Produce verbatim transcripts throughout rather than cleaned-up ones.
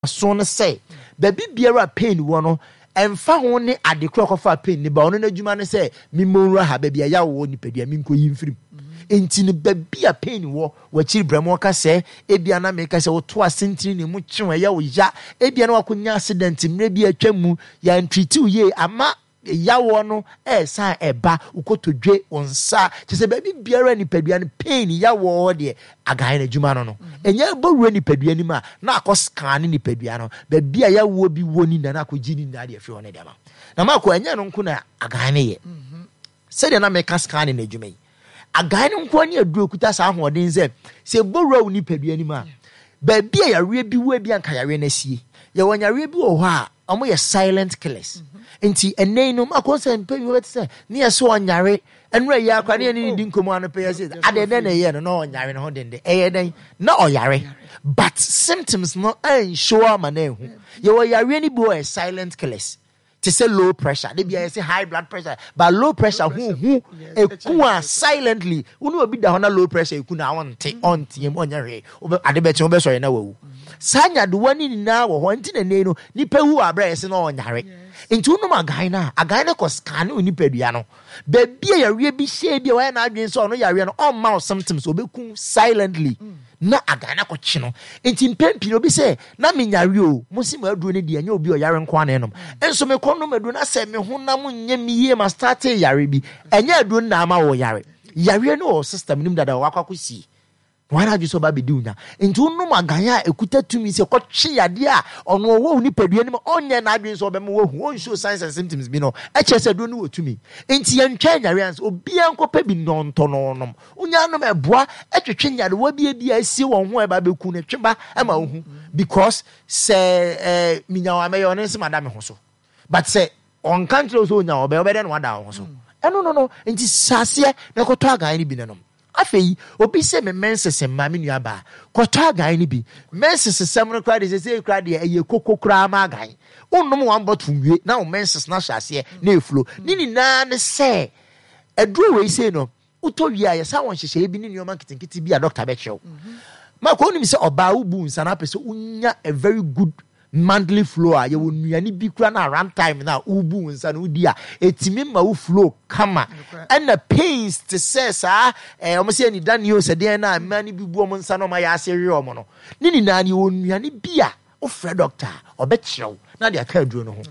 So no sɛ baabi biara a pain wɔ no, ɛmfa ho ne ade koro akɔfa pain ne ba, ɔno n'adwuma ne sɛ memmɔ nwura ha baabi a yawo wɔ nipadua, menkɔyi mfirim. Nti no, baabi a pain wɔ w'akyiri brɛ mu, ɔka sɛ ebia na meka sɛ woto asentene ne mu kyew, ɛyɛ wo ya, ebia na wakɔnya accident mmerɛ bi atwa mu, yɛantreat wo yie ama yawoɔ no ɛɛsan ɛba wokɔtɔdwe wo nsa, kyɛ sɛ baabi biara nipadua no pain yawoɔ hɔ deɛ, agan no adwuma no no ɛnyɛ bɔwura nipadua no mu a na akɔ scan ne nipadua no baabi a yawoɔ bi wɔ ni na na akɔgye ne nyinaa deɛ afiri hɔ no deɛ ma na maakɔ. Ɛnyɛ no nko na agan no yɛ. Sɛdeɛ na meka scan no adwuma yi, agan no nko ne aduro kuta saa ahoɔden sɛ sɛ bɔwura wo nipadua no mu a, baabi a yareɛ bi wɔ bi anka yareɛ no asie. Yɛwɔ yareɛ bi wɔ hɔ a ɔmo yɛ silent killers, nti ɛnɛ yi no makɔ sɛ mpɛ bi wɔbɛte sɛ ne yɛ so ɔnyare ɛnura yi akora ne yɛ ne di nkɔmɔ ano pɛ yɛ sɛ adeɛ dɛn na ɛyɛ no na ɔnyare ne ho dende, ɛyɛ dɛn na ɔyare, but symptoms no ɛnhyɛ ama na ɛhu. Yɛwɔ yareɛ no bi wɔ yɛ silent killers te sɛ low pressure de bi a yɛsɛ high blood pressure, but low pressure hu hu eku a silently. Wone obi da hɔ na low pressure eku na ɔnte, ɔnteɛ mu, ɔnyɛ hwee, ade bɛkye wobɛsɔre na wawu. Saa nyadewa ne nyinaa wɔ hɔ, nti na nei no nipa wu wɔ aberɛ a yɛsɛ na ɔnyare. Nti wonom agan no a, agan no kɔ scan wo nipadua no baabi a yareɛ bi hyɛ bi a wɔyɛ n'adwene sɛ ɔno yareɛ no ɔmma wo symptoms, ɔbɛku silently na agan no akɔkye no. Nti mpɛn pii no, obi sɛ na menyare o, mo si mo aduro no deɛ, ɛnyɛ obi a ɔyare nko ana ɛnom, nso mekɔ nom aduro na sɛ me honam nyɛ me yie, ma start yare bi. Ɛnyɛ aduro no na ama wɔ yare, yareɛ no wɔ system no mu dada, wakɔ akɔsie wɔn adwe sɛ ɔba abɛdi wo nya. Nti wonom agan a, ɛkuta tumi sɛ kɔtwe yadeɛ a ɔno ɔwɔ wo nipadua no mu, ɔnyɛ n'adwene sɛ ɔbɛma wahu, ɔnsuo signs and symptoms bi no, ɛkyerɛ sɛ aduro no wɔ tumi. Nti yɛntwɛn nyare ansa obiara nkɔpɛ bi nnɔntɔ no nom. Wonya nom, ɛboa ɛtwetwe nyarewa bi bi a asie wɔn ho a ɛba bɛku no, twe ba ɛma wo hu, because sɛ ɛɛ minya wɔn amɛyɛ ɔno nso ma da me ho so, but sɛ ɔnka nkyerɛ wo sɛ onya ɔbɛ ɔbɛdɛ no wada wo ho so ɛno no no Nti hyɛ na ɛkɔtɔ agan no bi nanom. Afei obi sɛ me menses mma, me nua baa, kɔtɔ agan no bi. Menses sɛm no koraa de sɛ sɛ koraa deɛ, ɛyɛ koko koraa ma agan. Wonnom one bottle nwie na wo menses no ahyɛ aseɛ na ɛflow. Ne nyinaa ne sɛ aduro wei sei no, wotɔ wie a, yɛsa wɔ nhyehyɛeɛ bi ne nneɛma nketenkete bi a doctor bɛkyerɛ wo. Mako, wonim sɛ ɔbaa wobu nsa na apɛ sɛ wonya a very good monthly flow a, yɛwɔ nnuane bi kura na around time na wobu wo nsa no wodi a, ɛtumi ma wo flow kama. Ɛna pains te sɛ saa ɛɛ ɔmo sɛ anida ne o sɛ deɛn na mmaa no bi bu ɔmo nsa na ɔmo ayɛ ase we ɔmo no ne nyinaa no, yɛwɔ nnuane bi a wofrɛ doctor a, ɔbɛkyerɛ wo na de aka aduro no ho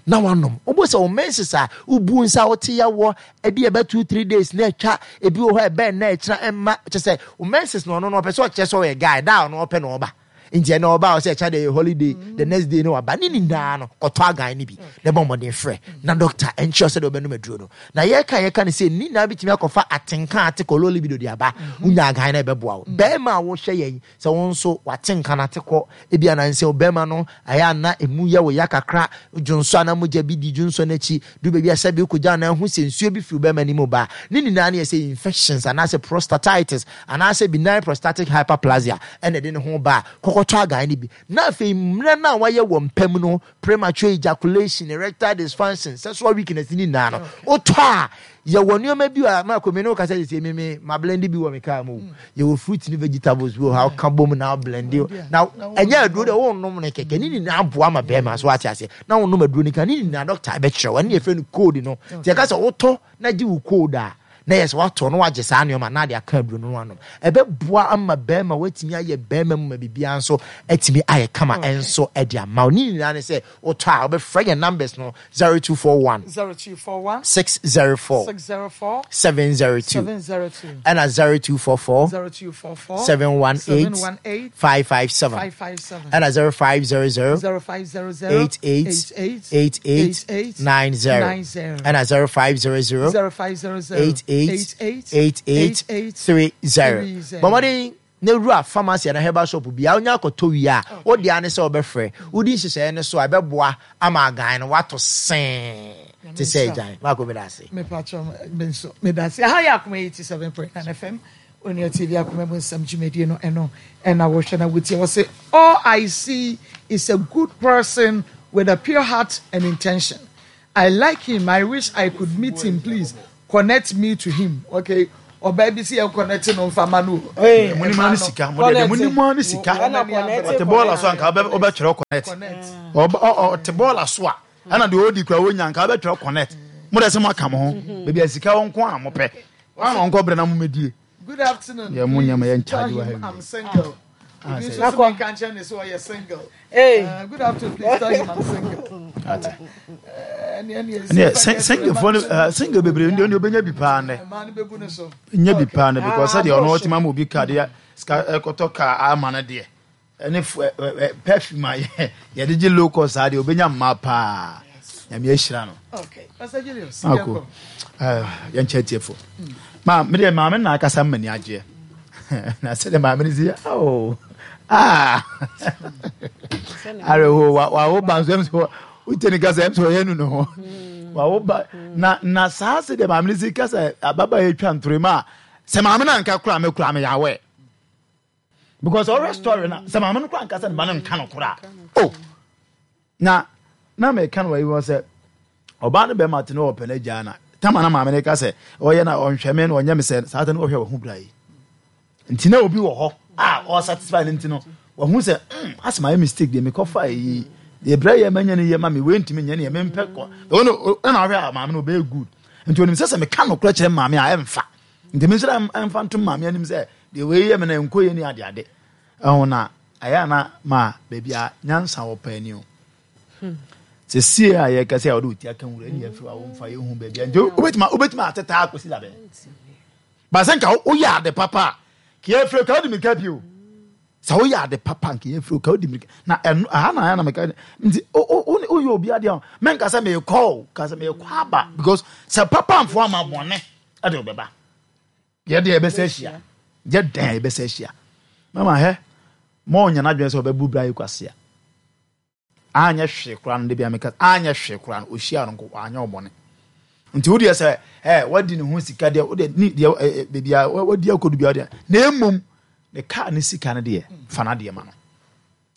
na wanom. Wobɔ sɛ wo menses a wobu nsa a wote yɛwɔ ebi ɛbɛ two three days na atwa, ebi wɔ hɔ ɛbɛn na ɛkyerɛ ɛmma kyɛ sɛ wo menses no, ɔno no ɔpɛ sɛ ɔkyerɛ sɛ ɔyɛ guy da a ɔno ɔpɛ na ɔba, nti ɛna ɔba a ɔsɛ ɛkyɛ de holiday, the next day no waba. Ne nyinaa no, kɔtɔ agan no bi na ɛbɔ mmɔden frɛ na doctor ɛnkyerɛ sɛ de ɔbɛnom aduro no. Na yɛka yɛka no sɛ ne nyinaa bitumi akɔfa atenka ate kɔ low libido de aba. Wonya agan no, ɛbɛboa wo. Bɛrima a wohwɛ yɛn sɛ wo nso watenka no ate kɔ, ebi anansɛ bɛrima no ayɛ ana emu yɛ wo ya kakra, dwonso ana mogya bi di dwonso n'akyi du baabi a sɛbi wokɔgya ana ahu sɛ nsuo bi firi bɛrima no mu ba, ne nyinaa no yɛ sɛ infections anaasɛ prostatitis anaasɛ benign prostatic hyperplasia ɛna ɛde ne ho ba a, kɔkɔtɔ agan no bi. Na afei mmerɛ no a wayɛ wɔ mpam no, premature ejaculation, erectile dysfunction, sexual weakness ne nyinaa no, wotɔ a, yɛwɔ nneɛma bi a maako me ne wo kasa sɛ me me ma blend bi wɔ me kaa mu. Yɛwɔ fruit ne vegetables bi wɔ hɔ a woka bom na blend na ɛnyɛ aduro deɛ wonnom no kɛkɛ. Ne nyinaa boa ma bɛrima so wate aseɛ na wonnom aduro no ka ne nyinaa, doctor bɛkyerɛ wo. Ɛne yɛfrɛ no code no. Nti yɛka sɛ wotɔ na gye wo code a, na yɛ sɛ watɔ no wagye saa nneɛma na ade aka aduro no anom, ɛbɛboa ama bɛrima watumi ayɛ bɛrima mu ma biribiara nso atumi ayɛ kama ɛnso ɛde ama wo. Ne nyinaa ne sɛ wotɔ a, wobɛfrɛ yɛn numbers no zero two four one zero two four one six zero four six zero four seven zero two seven zero two ɛna zero two four four zero two four four seven one eight seven one eight five five seven five five seven ɛna zero five zero zero zero five zero zero eight eight eight eight eight eight eight nine zero nine zero ɛna zero five zero zero zero five zero zero eight eight eight eight eight eight eight three zero. three zero. Bɔmmɔden na wura pharmacy ana herbal shop bia wonya akɔtɔ wie a, wode ane sɛ wobɛfrɛ wodi nhyehyɛeɛ no so a, ɛbɛboa ama agan no wato see te sɛ agyan maakɔ. Meda ase. Mepatwɔ, me nso meda ase. Aha yɛ Akoma eighty-seven point nine F M, Onua T V, Akoma mu Nsɛm dwumadie no ɛno ɛna wɔhwɛ na wotie. Wɔ sɛ all I see is a good person with a pure heart and intention. I like him. I wish I could meet him. Please connect me to him. Okay, Ɔbaa bi si yɛn connect no nfa ma no. Mo ni ma ni sika, mo de mo ni ma ni sika. Ɔte bɔɔla so anka ɔbɛtwerɛ connect. Ɔte bɔɔla so a ɛna deɛ ɔdi kura wɔnya anka ɔbɛtwerɛ connect. Mo de sɛ mo aka mo ho baabi a sika wɔn nko a mo pɛ. Wɔn a wɔn kɔ brɛ na mo mɛdie. Good afternoon. Yeah, mo nyama yɛn charge wa heavy. I'm single. Obi nso so nka nkyɛn ne so ɔyɛ single. Hey. Uh, good afternoon, please tell him I'm single. Ate. Single fo single bebree ndi oni obenya bi paa ne. Nya bi paa ne because sɛ deɛ ɔno ɔtema ma obi ka deɛ sika ɛkɔtɔ ka ama no deɛ ɛne perfume a yɛde gye low cost saa deɛ obenya mmaa paa. Nyame ahyira no. Okay. Pastor Julius. Ako. Yɛnkyɛ tiefo. Ma me deɛ maame na akasa mmani agyeɛ. Na sɛ deɛ maame no si oh ah areho wa wa wo ba nso ɛm sɛ wote ne kasa ɛm sɛ ɔyɛ nu ne ho wa wo ba na na saa sɛ deɛ maame no si kasa ababa yɛ twa ntoro mu a sɛ maame no anka koraa me koraa me yɛ awɛ because ɔrɛ story na sɛ maame no koraa anka sɛ ne ba no nka no koraa oh na na meka no wɔ yi wɔ sɛ ɔbaa no bɛrima te ne ɔpɛ no agyaa na tama na maame no ka sɛ ɔyɛ na ɔnhwɛ me na ɔnyɛ me sɛ saa ta no ɔhwɛ wɔ ho bra yi nti na obi wɔ hɔ a ɔsatisfy no nti no wahu sɛ mm asɛ mayɛ mistake deɛ mekɔfa yi deɛ brɛ yɛ manya no yɛ ma me wei ntumi nyɛ ne yɛ mempɛ kɔ ɔno ɛna ɔhwɛ a maame no ɔbɛyɛ good nti onim sɛ sɛ meka nokorɛ kyerɛ maame a ɛmfa nti me nso dɛ ɛmfa ntom maame anim sɛ deɛ wei yɛ me na ɛnkɔ yɛ ni ade ade ɛho na ɛyɛ ana ma baabi a nyansa wɔ paa ni o sɛ sie a yɛka sɛ a wɔde wo ti aka nwura ne yɛfiri a womfa yɛhu baabi a nti wobɛtumi wobɛtumi atetaa akɔsi labɛn ba sɛ nka woyɛ ade papa a ka yɛfiri ka wode mirika bio sɛ woyɛ ade papa nka yɛfiri ka wode mirika na ɛno aha na ayɛ na meka nti woyɛ obi adeɛ a menka sɛ meekɔ o ka sɛ meekɔ aba because sɛ papa mfo ama bɔne ɛde wobɛba yɛde yɛbɛsɛ ahyia yɛ dɛn yɛbɛsɛ ahyia mama hɛ ma ɔnya n'adwene sɛ ɔbɛbu bra yi kwasea anyɛ hwee koraa no de bia meka anyɛ hwee koraa no ɔhyia no nko anyɛ ɔbɔne nti wodeɛ sɛ ɛ wadi ne ho sika deɛ wodeɛ ne deɛ ɛ baabi a wadi akɔdu bia wodeɛ na mmom ne kaa ne sika no deɛ fa no adeɛ ma no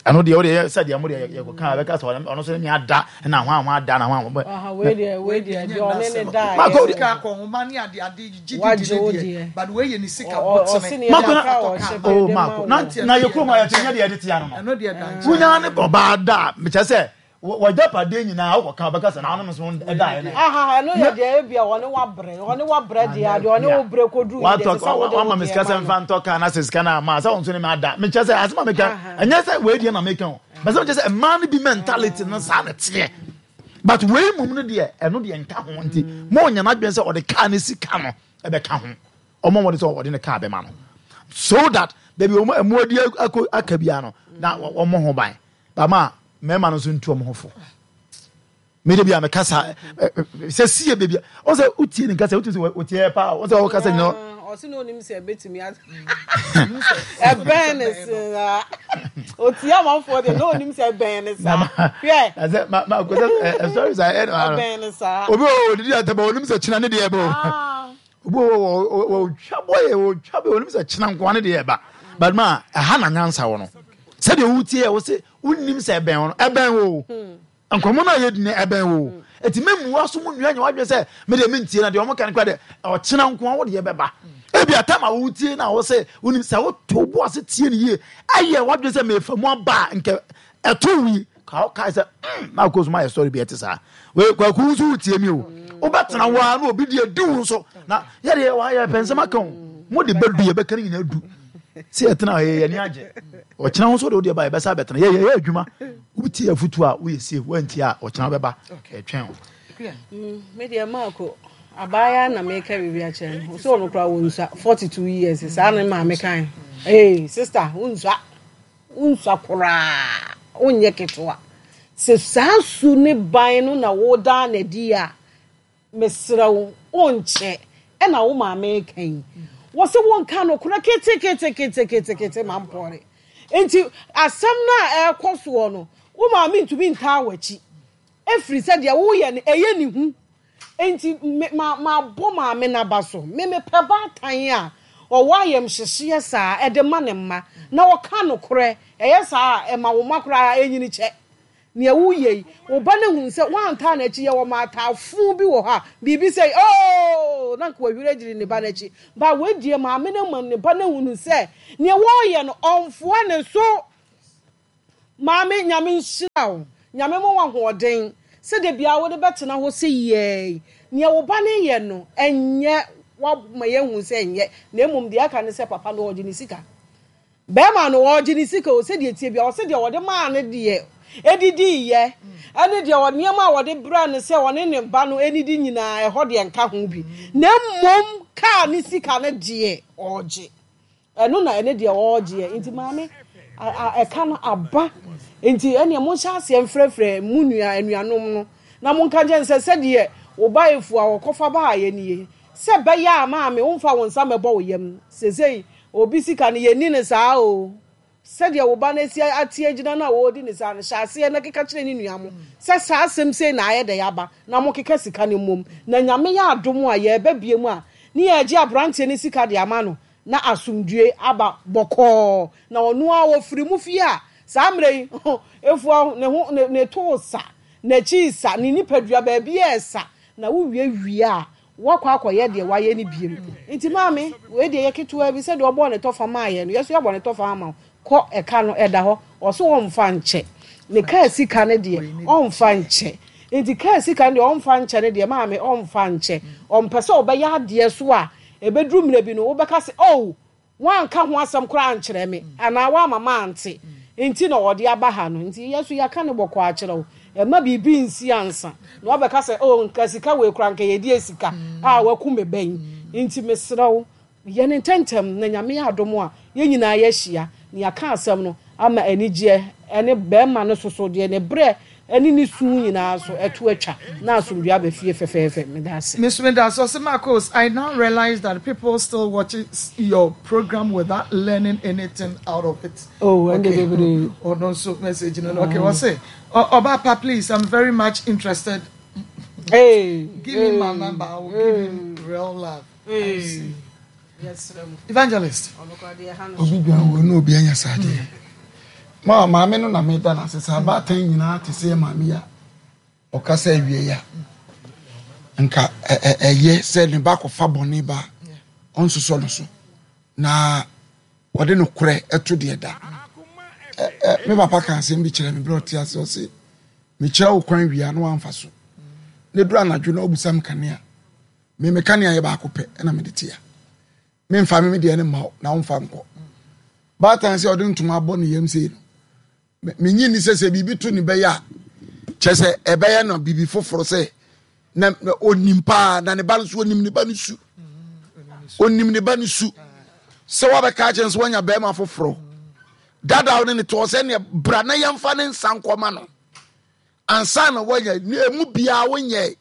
ɛno deɛ wodeɛ sɛ deɛ mo deɛ yɛkɔka bɛka sɛ ɔno so ne me ada na ho a ho ada na ho a Aha, wei deɛ wei deɛ deɛ ɔne ne da Marco, yɛ Sika akɔnhoma ne ade ade gye di Wagye di wo ne deɛ deɛ. but wei yɛ ne sika Ɔ- ɔ- ɔse bɔtene ne Marco yɛ na kakra a ɔhyɛ oh pɛ de ma Marco na wo. na yɛ kurom a yɛte nyɛ deɛ yɛde tea no no ɛno deɛ da nkyɛn wonya ne ɔbaa da a mekyɛ sɛ wɔgyapadeɛ nyinaa wokɔka wobɛka sɛ na wonom so ɛdaeɛ no Aha, ɛno yɛ deɛ ebia ɔne wabrɛ ɔne wabrɛ deɛ adeɛ ɔne wo brɛ koduru yi deɛ watɔ ɛsɛ sɛ wode wo wama me deɛ sika sɛ ma no. mfa ntɔ kaa na sɛ sika no ama sɛ wo nso ne me ada mekyɛ sɛ asɛm a meka Aha. ɛnyɛ sɛ wei deɛ na meka o bɛ sɛ mekyɛ sɛ mmaa no bi mentality no saa na teɛ but wei mmom no deɛ ɛno deɛ nka ho nti ma ɔnya n'adwene sɛ ɔde kaa ne sika no ɛbɛka ho ɔma wɔde sɛ ɔde ne kaa bɛma no so that baabi ɔmo ɛmo adi akɔ aka bia no na ɔmo ho ban bama mmarima no nso ntu ɔmo ho fo mede bi a meka sa sɛ sie baabi a ɔsɛ sɛ wotie ne nkasa wotie sɛ wotie paa ɔsɛ wɔkasa nyina Ah, ɔse na onim sɛ ɛbɛtumi a ɛbɛn ne saa otie amanfoɔ deɛ na onim sɛ ɛbɛn ne saa hwɛ sɛ ma ma kò sɛ ɛ sorry sa ɛ ɛbɛn ne saa obi wɔ odidi ataba onim sɛ kyena ne deɛ ɛbɛ o Ah, obi wɔ wɔ wɔ otwa bɔ yɛ otwa bɔ onim sɛ kyena nkoa ne deɛ ɛba but ma ɛha na nyansa wɔ no sɛdeɛ wotie yɛ wɔ sɛ wonim sɛ ɛbɛn wɔ no ɛbɛn wɔ o nkɔmɔ no a yɛdi no ɛbɛn wɔ o eti mɛmua so mu nua nyɛ wadwene sɛ mede mentie na deɛ ɔmo ka no kora deɛ ɔkyena nkoa wo deɛ bɛba ebi atam a wotie na wɔ sɛ wonim sɛ woto bo ase tie no yie ɛyɛ wadwene sɛ mefa mu aba a nkɛ ɛto wi ka kae sɛ mm na akɔ so ma yɛ story bi ɛte saa wei kwaku nso wotie mi o wobɛtena hɔ a na obi deɛ di wo nso na yɛdeɛ wayɛ pɛ nsɛm aka o mo de bɛdu yɛbɛka no nyinaa du sɛ yɛtena hɔ yɛ yɛni agye ɔkyena ho nso de wodeɛ ba yɛbɛsa bɛtena yɛ yɛyɛ adwuma wotie afotu a woyɛ safe woantie a ɔkyena wobɛba ɛtwɛn wo mm, me deɛ Marco abaayewa na meka biribi akyerɛ no sɛ ɔno koraa wɔnsua forty two years saa ne maame kan ee sister wonsua wonsua koraa wonyɛ ketewa sɛ saa su ne ban no na wodaa n'adi a mesrɛ wo wonkyɛ ɛna wo maame ka yi wɔ sɛ wonka no korɛ keteketeketekete ma mpɔre nti asɛm no a ɛrekɔ soɔ no wo maame ntumi ntaa w'akyi ɛfiri sɛ deɛ woyɛ no ɛyɛ ne hu nti me ma ma bɔ maame n'aba so me mepɛ baatan a ɔwɔ ayɛmhyehyeɛ saa ɛde ma ne mma na ɔka nokorɛ ɛyɛ saa a ɛma wo mma koraa ɛnyini kyɛ nea woyɛ yi wo ba no hu sɛ woantaa n'akyi yɛ wɔ maataafo bi wɔ hɔ a biribi sɛ ooo. Oo, na nka wahwiri agyiri ne ba n'akyi. Ba wei deɛ maame no ma ne ba no ahunu sɛ nea wɔreyɛ no ɔmfoa ne so. Maame, Nyame nhyira wo. Nyame ma wo ahoɔden sɛ da biara wode bɛtena hɔ sɛ yɛi. Nea wo ba no yɛ no, ɛnyɛ woama yɛahu sɛ ɛnyɛ, na mmom deɛ aka ne sɛ papa no ɔgye ne sika. Bɛrima no ɔgye ne sika o, sɛdeɛ tie bia, ɔsɛ deɛ ɔde maa no deɛ ɛdidiiɛ, ɛne deɛ ɔ- nneɛma a wɔde brɛ no sɛ ɔne ne ba no ɛnidi nyinaa, ɛhɔ deɛ nka ho bi. Na mmom kaa ne sika no deɛ ɔgye. Ɛno na ɛne deɛ ɔregyeɛ. Nti maame, ɛka no aba. Nti ɛneɛ monhyɛ aseɛ mfrɛfrɛ mu nua anuanom no na monka nkyɛn sɛ sɛdeɛ wo ba efu a wɔkɔfa baayɛ nie, sɛ bɛyɛ a maame womfa wo nsa mɛbɔ wo yam. Sesei obi sika no yɛnni no saa o. Sɛdeɛ wo ba no asi ate agyina no a wɔredi ne saa no, hyɛ aseɛ na keka kyerɛ ne nua mo sɛ saa asɛm sei na ayɛ dɛ aba na mokeka sika no mmom. Na Nyame yɛ adom a yɛreba bie mu a ne yɛagye aberanteɛ no sika de ama no na asomdue aba bɔkɔɔ. Na ɔno a wɔfiri mu fie a saa mmerɛ yi efua ne ho ne ne to sa, n'akyi sa, ne nipadua baabi yɛ sa, na wowie wie a wakɔ akɔyɛ deɛ wayɛ no biem. Nti maame, wei deɛ yɛ ketewa bi sɛdeɛ ɔbɔɔ ne tɔfa maa yɛ no, yɛ so yɛabɔ ne tɔfa ama wo. Kɔ ɛka no ɛda hɔ, ɔso ɔmfa nkyɛ. Ne kaa sika no deɛ ɔmfa nkyɛ. Nti kaa sika no deɛ ɔmfa nkyɛ no deɛ maame ɔmfa nkyɛ. Ɔmpɛ sɛ ɔbɛyɛ adeɛ so a ɛbɛduru mmerɛ bi no wobɛka sɛ oh, woanka ho asɛm koraa ankyerɛ me anaa woama mante nti na ɔde aba ha no. Nti yɛ so yɛaka ne bɔkɔ akyerɛ wo. Ɛma biribi nsi ansa na wabɛka sɛ oh, nka sika wei koraa nka yɛdi sika a waku me bɛn. Nti mesrɛ wo, yɛ ne ntɛntɛm na Nyame yɛ adom a yɛn nyinaa yɛahyia na yɛaka asɛm no ama anigyeɛ ɛne bɛrima no soso deɛ ne berɛ ɛne ne su nyinaa so ɛto atwa na asomdwe aba fie fɛfɛɛfɛ. Meda ase. Miss Winda, Marcos, I now realize that people still watch your program without learning anything out of it. Oh, and okay. Oh, no, so message. No, okay, what's it? Obapa, please, I'm very much interested. Hey, give hey, me my number. I will hey, give him real love. Hey. I see. Evangelist. Obi bia wo no obi anya sade. Ma maame no na me da na sesa abatan nyina te se maame ya. Okasa awie ya. Nka eye se ne ba kofa bone ba onsoso no so. Na wode no kore eto de da. Me papa kan asem bi kire me bro te ase o se me kire wo kwan wia no amfa so. Ne dura anadwo na obusam kanea. Me me kanea ye ba akopɛ na me de te ya. Me mfa me de ne ma na womfa nko. Batan se ode ntoma abɔ ne yam sei no. Me nyi ni sese bibi to ne be ya. Che se ebeye no bibi foforo se na onim pa na ne ba no so onim ne ba no su. Onim ne ba no su. Se wa be ka che nso wanya be ma foforo. Dada wo ne to se ne bra na yamfa ne nsa nkoma no. Ansa na wanya emu bia wonye.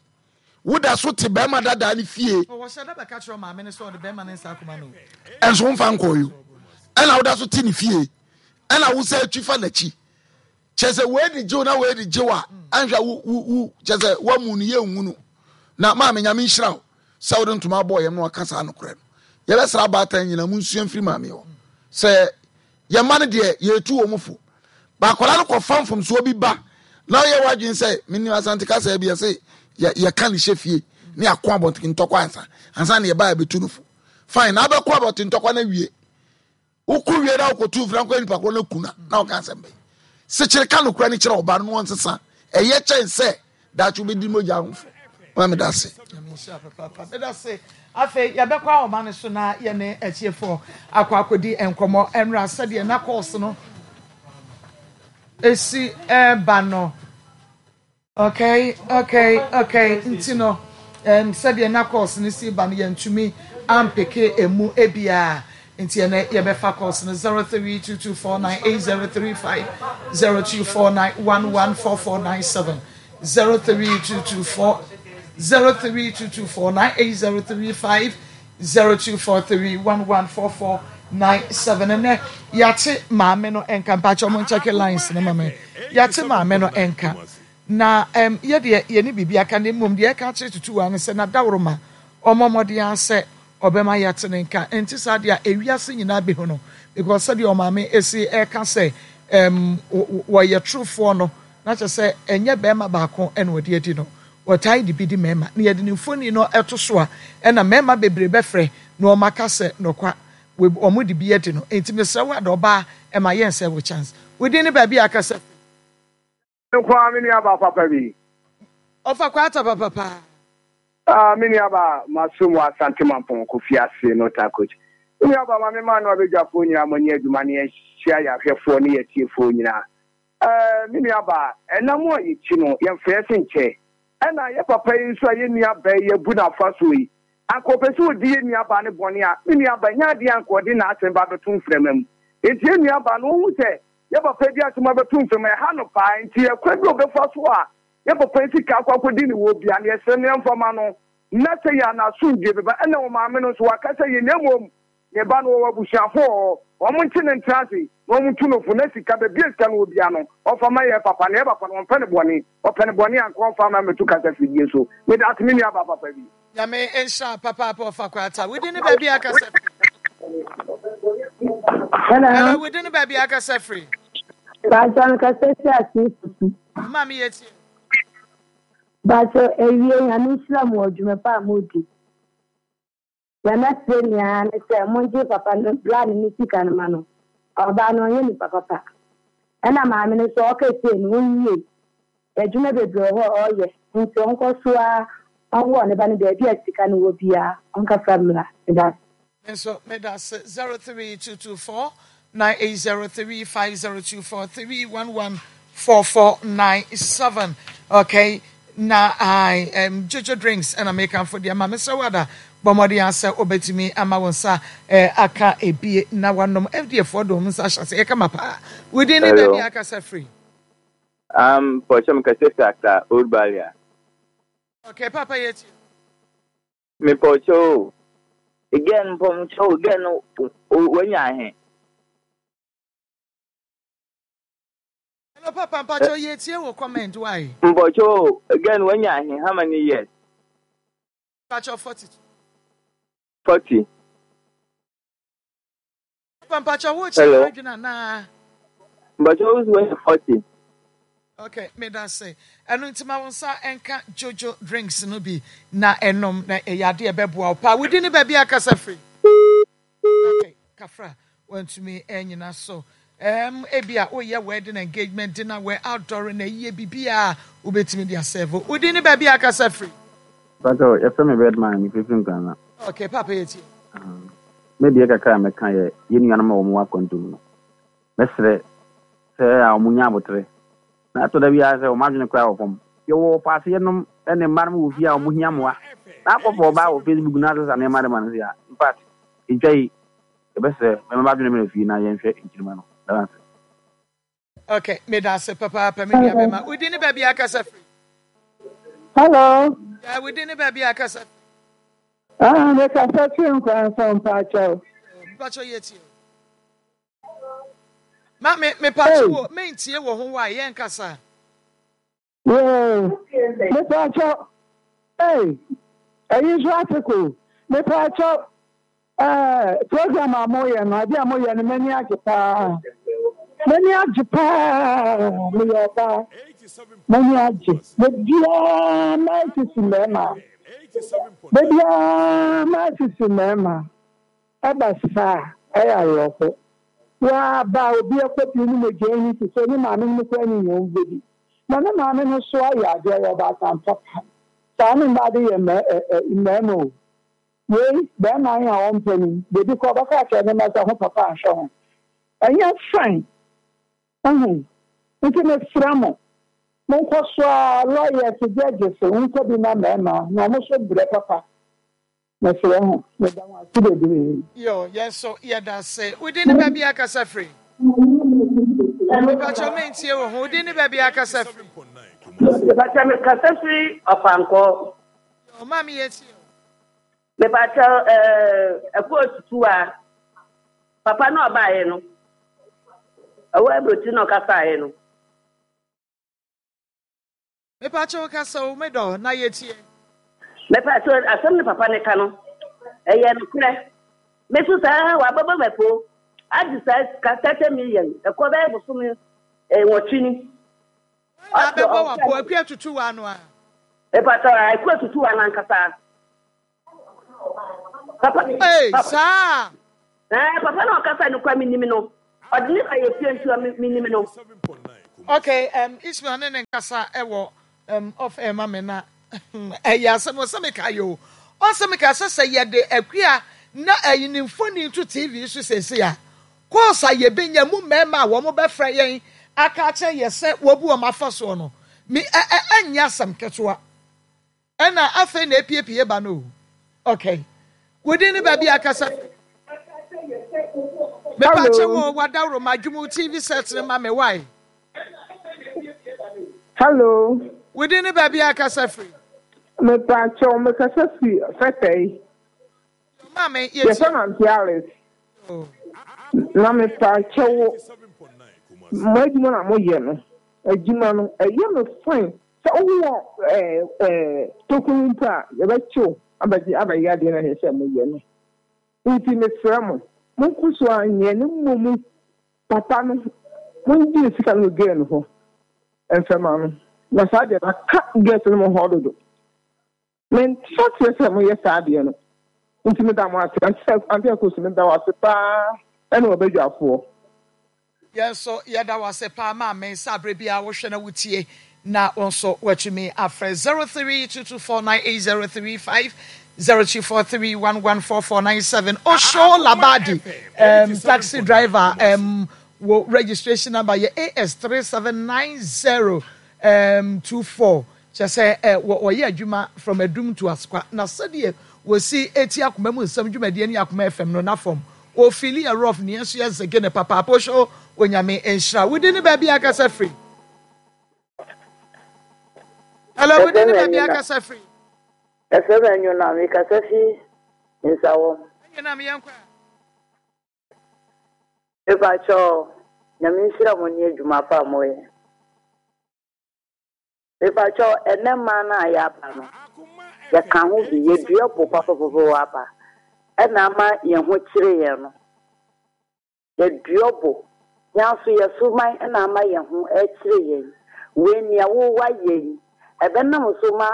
Woda so te be ma dada ne fie. O wo shada be ka chiro maame ne so de be ma ne nsa akoma no. Enso mfa nkoyo. Ena woda so te ne fie. Ena wo sa twifa nachi. Chese we di jiw na we di jiwa anhwa wu wu chese wa mu ne ye nwunu. Na maame Nyame nhira wo. Sa wo ntoma boy yem no aka sa no kore no. Ye be sra batan nyina mu nsua mfiri maame ho. Se ye ma ne de ye tu wo mfo. Ba kola no kofam fom so obi ba. Na ye wadwen se menni asante kasa bi ye se ye ye kan hye fie ne akọ abonten ntokwa ansa. Ansa na ye ba betu no fo. Fine na be kọ abonten ntokwa na wie. Wo ku wie na wo kotu franko ni pakro na kuna na wo kan sembe. Se kire ka no kura ni kire oba no wonsesa. Eye chen se da chu be di moja ho. Ma me da se. Me da se. Afe ya be kwa o ma ne so na ye ne atiefo akwa akodi enkomo enra se de na course no esi e ba no. Okay, okay, okay. Ntino em se de na course no si ba no ye ntumi ampeke emu ebia. Nti ene ye be fa course no zero three two two four nine eight zero three five, zero two four nine one one four four nine seven, zero three two two four, zero three two two four nine eight zero three five, zero two four three one one four four nine seven. Ene yate maame no enka mpa cho mo check lines no mame. Yate maame no enka. Na em ye de ye ni bibia ka ne mum de ka kire tutu wa ne se na dawroma omomode ase obema yate ne nka enti sa de a ewiase nyina be ho no because se de omame esi e ka se em wo ye trufo no na che se enye be ma ba ko ene odi adi no Wɔtaa de bi di mmarima na yɛde ne mfoni no ɛto so a, ɛna mmarima bebree bɛfrɛ na wɔn aka sɛ nɔkwa wɔn de bi adi no. Nti mesrɛ wo ada ɔbaa, ɛma yɛn sɛ wo chance. Wodin ne baabi a akasa? Nkwa, me nua ba papa bi. Ɔfa kwata papapa. Ah, me nua ba, masom wɔ Asante Mampɔn Kofi ase no ta coach. Me nua ba, ma me ma no abadwafoɔ nyinaa mo ani adwuma ne yɛhyia yɛ ahwɛfoɔ ne yɛtiefoɔ nyinaa. Eh, me nua ba, ɛnam a yɛkyi no, yɛmfa yɛ se nkyɛ. Ɛna yɛ papa yi nso a yɛ nua ba yi abu n'afa so yi, anka ɔpɛ sɛ ɔdi yɛ nua ba ne bɔne a, me nua ba, nyɛ adeɛ anka ɔde n'asɛm ba bɛto mframa mu. Enti yɛ nua ba no, ɔhu sɛ yɛ papa bi asɛm abɛto mframa, ɛha no paa. Nti ɛkwan bi a ɔbɛfa so a yɛ papa yi sika akɔ akɔdi ne wɔ bia no, yɛsrɛ no yɛmfa ma no na sɛ yɛ anasomdwe bɛba. Ɛna wɔ maame no nso waka sɛ yɛ na mmom ne ba no wɔwɔ abusuafo wɔ hɔ, wɔn nkye ne ntena ase na wɔn tu no fo na sika baabi a sika no wɔ bia no ɔmfa ma yɛ papa na yɛ papa no ɔmpɛ ne bɔne, ɔpɛ ne bɔne anka ɔmfa ma mɛto kasa fidie so. Meda ase, me nua ba papa bi. Nyame nhyira papaapa. Ɔfa kwata, wodin ne baabi a akasa firi? Hello. Hello, wodin ne baabi a akasa firi? Bacho mekasa fi ase fufu. Maame, yɛtie. Bacho ewie, Nyame nhyira mo wɔ dwuma pa a modi. Deɛ mɛsrɛ nyinaa ne sɛ mongye papa no bra ne ne sika no ma no. Ɔbaa no ɔnyɛ nipa papa. Ɛna maame no nso ɔka sie no ɔnwie. Adwuma bebree wɔ hɔ a ɔyɛ nti ɔnkɔ so a ɔwɔ ne ba no baabi a sika no wɔ biara ɔnkasa mmra. Meda ase. Nso meda ase. Zero three two two four nine eight zero three five zero two four three one one four four nine seven. Okay, na I um, Jojo Drinks ɛna mekamfo deɛ ma mesrɛ wo ada bɔ mmɔden asɛ wobɛtumi ama wo nsa eh, aka ebie na wanom. F D A foɔ de wɔn nsa ahyɛ ase ɛkama paa. Wodin ne Hello. baabi a akasa firi? Um, Porsche mekasa fi Accra, Old Balia. Okay, papa, yɛtie. Me Porsche o. Again, Porsche o, again no, wanya ahe. Hello papa, mpakyɛ yɛtie wɔ comment why. Porsche o, again wanya ahe, how many years? Mpakyɛ forty two. Forty. Papa, mpakyɛ wo kyerɛ Hello. adwene anaa? Porsche o wanya forty. Okay, meda se ɛno nti ma wo nsa ɛnka Jojo Drinks no bi na ɛnom na ɛyɛ adeɛ ɛbɛboa wo paa. Wodi ne baabi akasa firi? Okay, kafra, wantumi ɛnyina so. um, ebi a woyɛ wedding, engagement, dinner, wɛ outdoor na ɛyie biribiaa wobɛtumi de asɛvo. Wodi ne baabi akasa firi? Pato, yɛfrɛ me Redman, mefirifiri Nkrana. Okay papa, yɛtie. Me deɛ kakra a mɛka yɛ yɛn nuanom a wɔwɔ akwantum no. Mɛsrɛ sɛ a wɔn nya abotere. Na ɛtɔ da biara sɛ wɔn adwene koraa wɔ fam. Yɛwɔ paaseɛ ne mma no wɔ fie a wɔn hia mmoa. Na akɔfo ɔbaa wɔ Facebook na asesa nneɛma de ma no sɛ a, in fact, ntwa yi, yɛbɛsrɛ mɛma adwene mmerɛ fie na yɛnhwɛ nkyirima no. Dara ase. Okay, meda ase papaapa, me nua bɛma. Wodi ne baabi akasa firi? Hello. Yeah, wodi ne baabi akasa firi? Ah, mekasa firi Nkranso, mpakyɛw. Mpakyɛ yɛtie. Ma me mepakye wo mentie wɔ ho wa yɛn kasa. Yoo, mepakyɛw. Hey, ɛyi nso article. Mepakyɛw. Eh, program a moyɛ no, ade a moyɛ no, m'ani agye paa. M'ani agye paa. Meyɛ ɔbaa. M'ani agye. Bebiara maa sisi mmarima. Bebiara maa sisi mmarima. Ɛba saa, ɛyɛ awerɛho. Waa ba obi akɔ bi ne mogya ani te sɛ ne maame no mu koraa ne nyɛ ɔmbɛdi. Na ne maame no so ayɛ adeɛ, yɛ ɔbaatan papa. Saa ne mmaa de yɛ mmarima o. Wei bɛrima yi a ɔmpɛ no, beebi kɔ ɔbɛka akyerɛ ne mma sɛ ho papa anhwɛ ho. Ɛnyɛ fine. Ɛho. Nti mesrɛ mo, monkɔ so a lawyers, judges, nkɔ bi ma mmarima na ɔmo so brɛ papa. Mesrɛ ho, meda mo ase bebree. Yo, yɛn so yɛda ase. Wodi ne baabi akasa firi? Mepakyɛ mentie wo ho. Wodi ne baabi akasa firi? Mepakyɛ mekasa firi Ɔfankɔ. Yo, maame, yɛtie o. Mepakyɛ ɛkɔ tutu a papa na ɔbaeɛ no ɛwɔ aburokyi na ɔkasaeɛ no. Mepakyɛ wo kasa o, medɔ na yɛtie. Mepakyɛ asɛm ne papa ne ka no ɛyɛ nokorɛ. Me so saa wabɛbɔ mɛpo agye saa sika thirty million ɛkɔ bɛyɛ bosome nwɔtwe ni. Na abɛbɔ wapo Akua Tutu wa no a. Mepa kyɛw, Akua tutu wa nankasa. Papa. Hey, saa. Eh, papa na ɔkasa no kwa minim no. Ɔde ne ba yɛ fie nti minim no. Okay, um, Ismail ne ne nkasa ɛwɔ um, off air ma me na ɛyɛ asɛm ɔsɛ meka yɛ o. Ɔsɛ meka sɛ sɛ yɛde Akua na ɛyi ne mfoni to T V so sɛsɛ a course a yɛbɛnya mu mmarima a wɔn bɛfrɛ yɛn aka akyerɛ yɛ sɛ wɔbu wɔn afa soɔ no me ɛ ɛ ɛnyɛ asɛm ketewa. Ɛna afei na epiepie ba no o. Okay, within ne baabi akasa mepa kyɛ wɔ wadaworo ma adwuma T V set ne ma me wae. Hello. Within ne baabi akasa firi. Mepakyɛw, mekasa fi Fɛtɛyi. Maame. Yɛfrɛ no Auntie Alice. Na mepakyɛw, mo adwuma na moyɛ no, adwuma no ɛyɛ me fine sɛ wowɔ ɛɛ ɛɛ tokuro mpo a yɛbɛkyew abɛgye abɛyɛ adeɛ na ɛsɛ sɛ moyɛ no. Nti mesrɛ mo, monkɔ so anyɛ ne mmom papa no, mongye ne sika no wɔ girl no hɔ mfɛma no. Na saa deɛ no aka girls no mo hɔ dodo. Mente aseɛ sɛ moyɛ saa adeɛ no. Nti meda mo ase. Auntie Akos, meda wo ase paa ɛne wɔbadwafoɔ. Yɛn nso yɛda wo ase paa maame sɛ aberɛ biara wohwɛ na wotie na wo nso watumi afrɛ zero three two two four nine eight zero three five, zero two four three one one four four nine seven. Osho Labadi, um, taxi driver, um, wo registration number yɛ A S three seven nine zero um, two four, kyerɛ sɛ ɛ wɔyɛ adwuma from Adum to Asokwa na sɛdeɛ wɔsi eti Akoma mu Nsɛm dwumadie ne Akoma F M no na fam ofili yɛ rough ne yɛn nso yɛ zege ne papaapa. Osho, Onyame nhyira wodi ne baabi akasa firi. Hello, wodi ne baabi akasa firi. Ɛfɛ bɛ nwona, mekasa fi Nsawɔ. Ɛnwonam, yɛn kɔ. Mepakyɛw, Nyame nhyira mo ne adwuma pa a moyɛ. Mepakyɛw, ɛnɛ mmaa no a yɛaba no, yɛka ho bi, yɛdua bo papapapa wɔ aba. Ɛna ama yɛn ho kyerɛ yɛn no. Yɛdua bo. Yɛn nso yɛso man ɛna ama yɛn ho ɛkyerɛ yɛn. Wei nea wowɔ ayɛ yi, ɛbɛnam so ma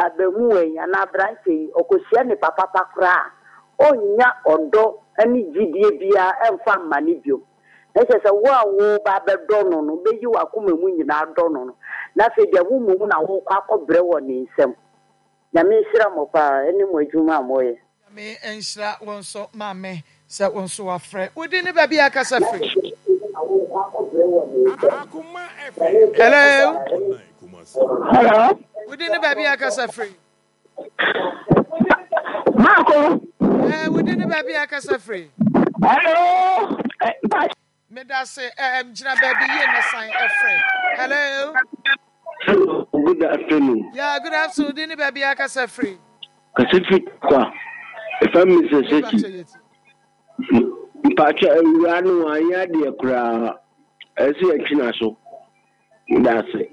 abamuwa yi anaa aberanteɛ yi, ɔkɔhyia nipa papa koraa a, ɔnnya ɔdɔ ne gyidie biara ɛmfa mma ne bio. Na kyerɛ sɛ wo a woba bɛdɔ no no, bɛyi w'akoma mu nyinaa dɔ no no. Na afei deɛ wo mmom na wokɔ akɔbrɛ wɔ ne nsam. Nyame nhyira mo paa ɛne mo adwuma a moyɛ. Nyame nhyira wo nso maame sɛ wo nso wafrɛ. Wodi ne baabi akasa firi. Hello. Hello. Wodi ne baabi akasa firi. Marco. Eh, wodi ne baabi akasa firi. Hello. Meda se eh, gyina baabi yie na san ɛfrɛ. Hello. Hello, good afternoon. Yeah, good afternoon. Wodi ne baabi akasa firi. Kasa fi kwa. Ɛfa Mister Seki. Mpakyɛ, awura no wanyɛ adeɛ koraa. Ɛsɛ yɛtwe n'aso. Meda ase.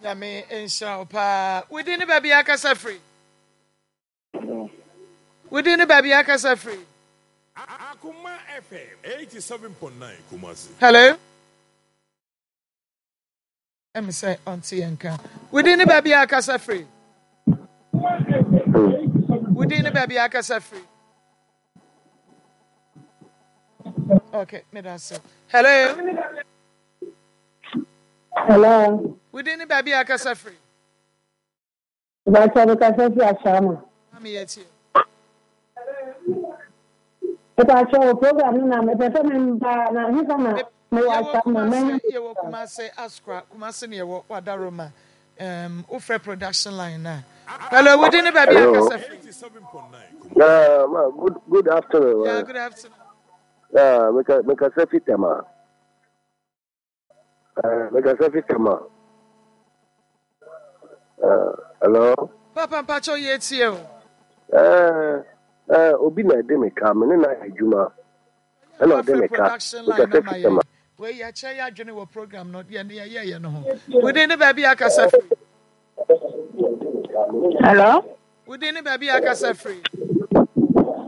Nyame nhyira wo paa. Wodi ne baabi akasa firi. Wodi ne baabi akasa firi. Akoma F M eighty-seven point nine Kumasi. Hello. Ɛmi sɛ ɔnte yɛn ka. Wodi ne baabi akasa firi. Wodi ne baabi akasa firi. Okay, meda ase. Hello. Hello. Wodi ne baabi akasa firi. Mepa mekasa fi Ashama. Maame, yɛ tie. Mepa program no na mepɛ sɛ memba na hefa na mewɔ Ashama mɛnya. Yɛwɔ Kumase Asokwa, Kumase ne yɛwɔ Wadaroma. Um, wofrɛ production line na. Hello, wodi ne baabi akasa firi. Uh, ma, good good afternoon. Yeah, good afternoon. Uh, meka mekasa fi Tema. Uh, mekasa fi Tema. Uh, hello. Papa, mpakyɛw, yɛ tie o. Uh, uh, obi na ɛde me ka, me ne na yɛ adwuma. Ɛna ɔde me ka. Production line Mekasa na ma fi Tema. yɛ. Wei yɛkyerɛ yɛ adwene wɔ program no deɛ ne yɛyɛyɛ no ho. Wodi ne baabi akasa firi. Hello. Wodi ne baabi akasa firi.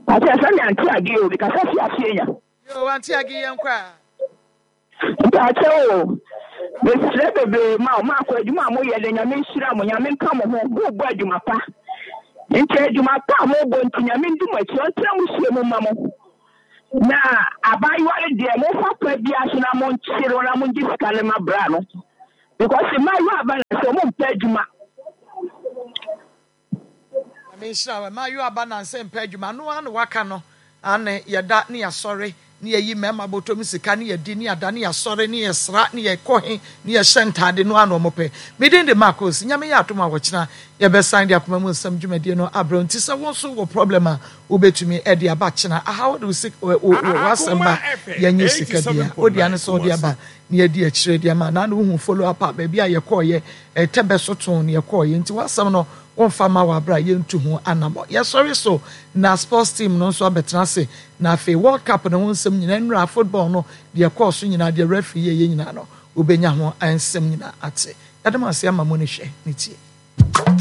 Ate sɛ ne Auntie Age o, mekasa fi ase nya. Yo, Auntie Age, yɛn kɔ a. Mpakyɛ o. Mesrɛ bebree ma wo, maakɔ adwuma a moyɛ de Nyame nhyira mo, Nyame nka mo ho, mobɔ adwuma pa. Nti adwuma pa a mobɔ nti Nyame ndi mo akyi, ɔntena mo sie mu ma mo. Na abaayewa no deɛ momfa kwa biara so na monkyere no na mongye sika no ma bra no. Because mmaayewa aba na sɛ ɔmo mpɛ adwuma. Nyame nhyira wo. Mmaayewa aba nansa mpɛ adwuma. Ano ara na waka no. Aane, yɛda ne yɛasɔre ne yɛyi mmarima bɔtɔm sika ne yɛdi ne yɛada ne yɛasɔre ne yɛsra ne yɛkɔ he ne yɛhyɛ ntaade no ara na wɔpɛ. Me din de Marcos. Nyame yɛ adom a ɔkyena yɛbɛsan de akoma mu nsɛm dwumadie no abrɛ wo. Nti sɛ wo nso wɔ problem a wobɛtumi de aba kyena aha wode wo sik wo wo w'asɛm ba yɛnyɛ sika bia. Wo dea ne sɛ wode aba na yɛadi akyire de ama. Naano wohu follow up a baabi a yɛkɔɔyɛ ɛtɛbɛ so too na yɛkɔɔyɛ. Nti w'asɛm no Wɔmfa mma wɔ abere a yɛntu ho anamɔ. Yɛsɔre so na sports team no nso abɛtena ase na afei World Cup no ho nsɛm nyinaa, nnura, football no, deɛ ɛkɔɔ so nyinaa, deɛ referee yɛeɛ nyinaa no, wobɛnya ho nsɛm nyinaa ate. Yɛda mo ase ama mo ani hwɛ ne tie.